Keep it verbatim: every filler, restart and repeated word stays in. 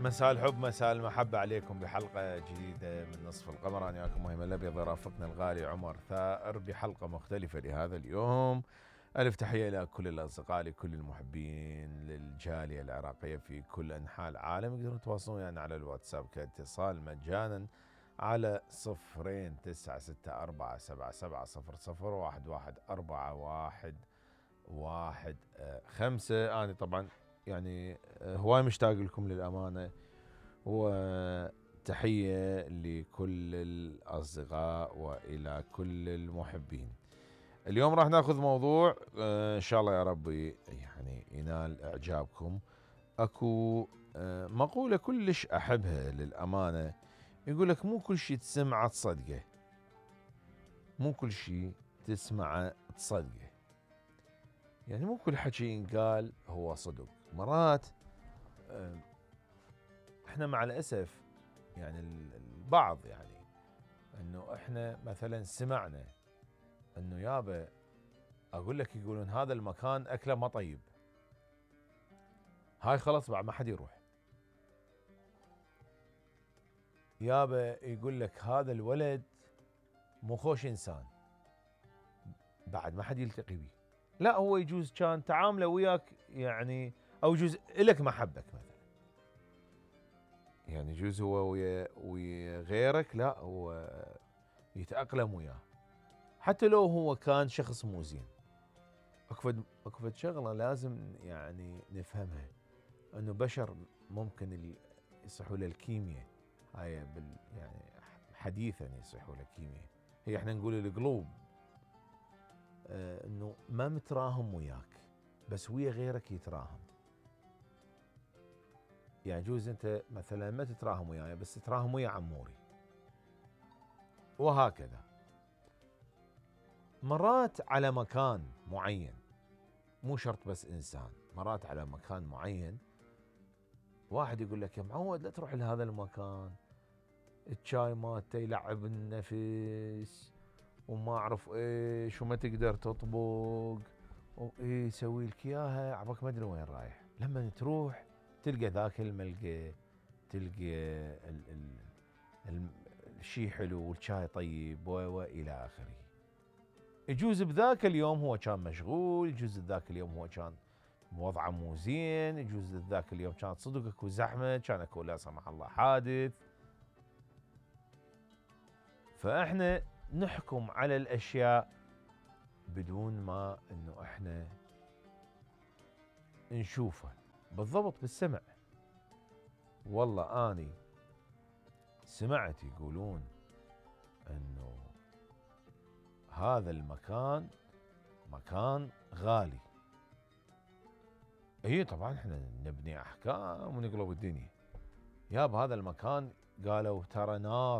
مساء الحب مساء المحبة عليكم بحلقة جديدة من نصف القمر. أنا وياكم مهم الأبيض رافقنا الغالي عمر ثائر بحلقة مختلفة لهذا اليوم. ألف تحية إلى كل الأصدقاء لكل المحبين للجالية العراقية في كل أنحاء العالم. يقدرون يتواصلون ويانا يعني على الواتساب كاتصال مجانا على صفرين تسعة ستة أربعة سبعة سبعة صفر صفر واحد واحد أربعة واحد واحد خمسة. أنا طبعا يعني هواي مشتاق لكم للأمانة، وتحية لكل الأصدقاء وإلى كل المحبين. اليوم راح ناخذ موضوع إن شاء الله يا ربي يعني ينال إعجابكم. أكو مقولة كلش أحبها للأمانة، يقولك مو كل شيء تسمعه تصدقه، مو كل شيء تسمعه تصدقه. يعني مو كل حكي ينقال هو صدق. مرات احنا مع الأسف يعني البعض يعني انه احنا مثلا سمعنا انه يابا اقول لك يقولون هذا المكان اكله ما طيب، هاي خلاص بعد ما حد يروح. يابا يقول لك هذا الولد مو خوش انسان، بعد ما حد يلتقي به. لا هو يجوز كان تعامله وياك يعني، او يجوز الك محبك مثلا، يعني يجوز هو ويا ويا غيرك لا هو يتأقلم وياه حتى لو هو كان شخص مو زين. اكفد اكفد شغله لازم يعني نفهمها، انه بشر ممكن يصيحوا له الكيمياء، هاي بال يعني حديثا يصيحوا له الكيمياء، هي احنا نقول القلوب، اه انه ما متراهم وياك بس ويا غيرك يتراهم. يعني جوز انت مثلا ما تتراهم وياي بس تتراهم ويا عموري، وهكذا. مرات على مكان معين، مو شرط بس انسان، مرات على مكان معين واحد يقول لك يا معود لا تروح لهذا المكان، الشاي مالته يلعب النفس وما اعرف ايش وما تقدر تطبق وايه يسوي لك اياها عباك ما ادري وين رايح. لما تروح تلقى ذاك الملقى، تلقى ال ال ال الشيء حلو والشاي طيب والى اخره. يجوز بذاك اليوم هو كان مشغول، يجوز بذاك اليوم هو كان وضعه مو زين، يجوز ذاك اليوم كانت صدق اكو زحمه، كان اكو لا سمح الله حادث. فاحنا نحكم على الاشياء بدون ما انه احنا نشوفها بالضبط بالسمع. والله اني سمعت يقولون انه هذا المكان مكان غالي. اي طبعا احنا نبني احكام ونقلب الدنيا. ياب هذا المكان قالوا ترى نار